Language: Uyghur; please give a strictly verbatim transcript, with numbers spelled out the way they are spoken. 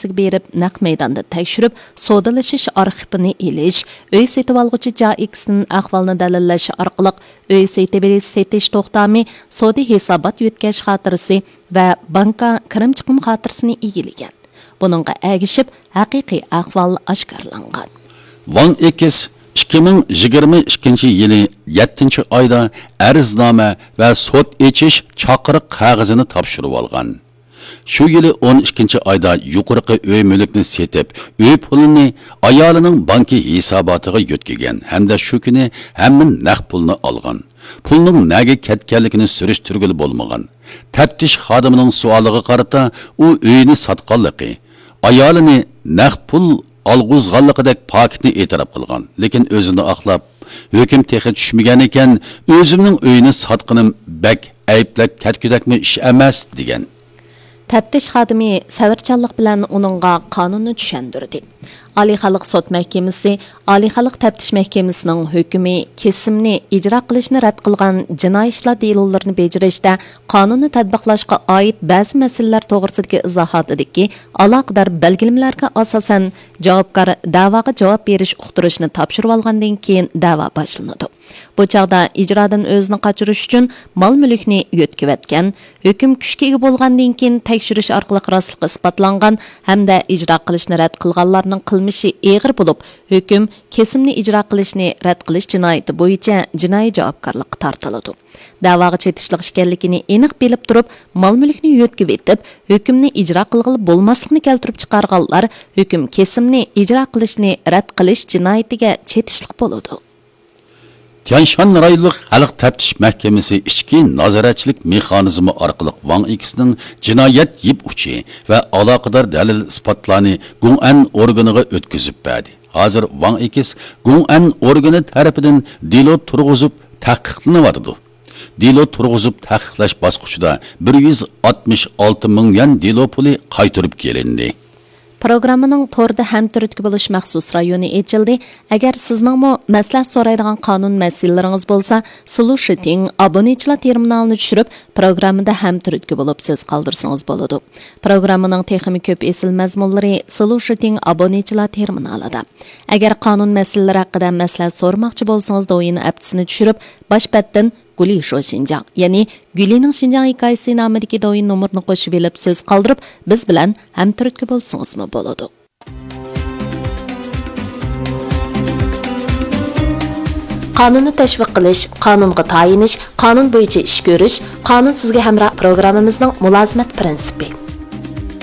ئاپتېكىغا بېرىپ، نەق مەيداندا تەكشۈرۈپ، سودىلىشىش ئارخىپىنى ئېلىش، ئۆي سېتىۋالغۇچى جائىكىسىدىن ئەھۋالنى دەلىللەش ئارقىلىق، ئۆي سېتىۋېلىش سېتىش توختامى، سودا ھېسابات يۆتكەش خاتىرىسى ۋە بانكا كىرىم چىقىم خاتىرىسىنى ئىگىلىگەن. بۇنىڭغا ئەگىشىپ، ھەقىقىي ئەھۋال ئاشكارىلانغان. ۋاڭ ئېكس ئىككى مىڭ يىگىرمە ئىككىنچى يىلى يەتتىنچى ئايدا ئەرزنامە ۋە سوت ئېچىش چاقىرىق قەغىزىنى تاپشۇرۇۋالغان. شۇ يىلى ئون ئىككىنچى ئايدا يۇقىرىقى ئۆي مۈلۈكنى سېتىپ، ئۆي پۇلىنى ئايالىنىڭ بانكا ھېساباتىغا يۆتكىگەن ھەمدە شۇ كۈنى ھەممە نەق پۇلنى ئالغان. پۇلنىڭ نەگە كەتكەنلىكىنى سۈرۈشتۈرگىلى بولمىغان. تەپتىش خادىمىنىڭ سوئالىغا قارىتا، ئۇ ئۆيىنى ساتقانلىقى، ئايالىنى نەق پۇل ئالغۇزغانلىقىدەك پاكىتنى ئېتىراپ قىلغان، لېكىن ئۆزىنى ئاقلاپ، ھۆكۈم تېخى چۈشمىگەن ئىكەن، ئۆزۈمنىڭ ئۆيىنى ساتقىنىم بەك ئەيىبلەپ كەتكۈدەكمۇ ئىش ئەمەس، دېگەن. تەپتىش خادىمى سەۋرچانلىق بىلەن ئۇنىڭغا قانۇننى چۈشەندۈردى. ئالىي خەلق سوت مەھكىمىسى، ئالىي خەلق تەپتىش مەھكىمىسىنىڭ ھۆكمى، كېسىمنى ئىجرا قىلىشنى رەت قىلغان جىنايى ئىشلار دېلولىرىنى بېجىرىشتە قانۇننى تەتبىقلاشقا ئائىت بەزى مەسىلىلەر توغرىسىدىكى ئىزاھاتىدىكى ئالاقىدار بەلگىلىمىلەرگە ئاساسەن، جاۋابكار دەۋاغا جاۋاب بېرىش ئۇقتۇرۇشنى تاپشۇرۇۋالغاندىن كېيىن دەۋا باشلىنىدۇ. بۇ چاغدا ئىجرادىن ئۆزىنى قاچۇرۇش ئۈچۈن مال-مۈلۈكنى يۆتكىۋەتكەن، ھۆكۈم كۈچكە ئىگە بولغاندىن كېيىن تەكشۈرۈش ئارقىلىق راستلىقى ئىسپاتلانغان ھەمدە ئىجرا قىلىشنى رەت قىلغانلارنىڭ قىلمىشى ئېغىر بولۇپ، ھۆكۈم كېسىمنى ئىجرا قىلىشنى رەت قىلىش جىنايىتى بويىچە جىنايى جاۋابكارلىققا تارتىلىدۇ. دەۋاغا چېتىشلىق ئىكەنلىكىنى ئېنىق بىلىپ تۇرۇپ، مال-مۈلۈكنى يۆتكىۋېتىپ، ھۆكۈمنى ئىجرا قىلغىلى بولماسلىقنى كەلتۈرۈپ چىقارغانلار ھۆكۈم كېسىمنى ئىجرا قىلىشنى رەت قىلىش جىنايىتىگە چېتىشلىق بولىدۇ. تيەنشان رايونلۇق خەلق تەپتىش مەھكىمىسى ئىچكى نازارەتچىلىك مېخانىزمى ئارقىلىق ۋاڭ ئېكسنىڭ جىنايەت يىپ ئۇچى ۋە ئالاقىدار دەلىل-ئىسپاتلارنى گۇڭئەن ئورگىنىغا ئۆتكۈزۈپ بەردى. ھازىر ۋاڭ ئېكس گۇڭئەن ئورگىنى تەرىپىدىن دېلو تۇرغۇزۇپ تەھقىقلىنىۋاتىدۇ. دېلو تۇرغۇزۇپ تەھقىقلەش باسقۇچىدا بىر يۈز ئاتمىش ئالتە مىڭ يۈەن دېلو پۇلى قايتۇرۇپ كېلىندى. پروگراممىنىڭ توردا ھەمتۈرتكە بولۇش مەخسۇس رايونى ئېچىلدى. ئەگەر سىزنىڭمۇ مەسلىھەت سورايدىغان قانۇن مەسىلىلىرىڭىز بولسا، سلۇشىتىڭ ئابۇنىچىلار تېرمىنالىنى چۈشۈرۈپ، پروگراممىدا ھەمتۈرتكە بولۇپ سۆز قالدۇرسىڭىز بولىدۇ. پروگراممىنىڭ تېخىمۇ كۆپ ئېسىل مەزمۇنلىرى سلۇشىتىڭ ئابۇنىچىلار تېرمىنالىدا. ئەگەر قانۇن مەسىلىلىرى ھەققىدە مەسلىھەت سورىماقچى بولسىڭىز، دوۋيىن ئەپتىسىنى چۈشۈرۈپ، باش بەتتىن گۇلى شو شىنجاڭ، يەنى گۈلىنىڭ شىنجاڭ ھېكايىسى نامىدىكى دوۋيىن نومۇرىنى قوشۇۋېلىپ سۆز قالدۇرۇپ، بىز بىلەن ھەمتۈرتكە بولسىڭىزمۇ بولىدۇ. قانۇننى تەشۋىق قىلىش، قانۇنغا تايىنىش، قانۇن بويىچە ئىش كۆرۈش، قانۇن سىزگە ھەمراھ پروگراممىمىزنىڭ مۇلازىمەت پىرىنسىپى.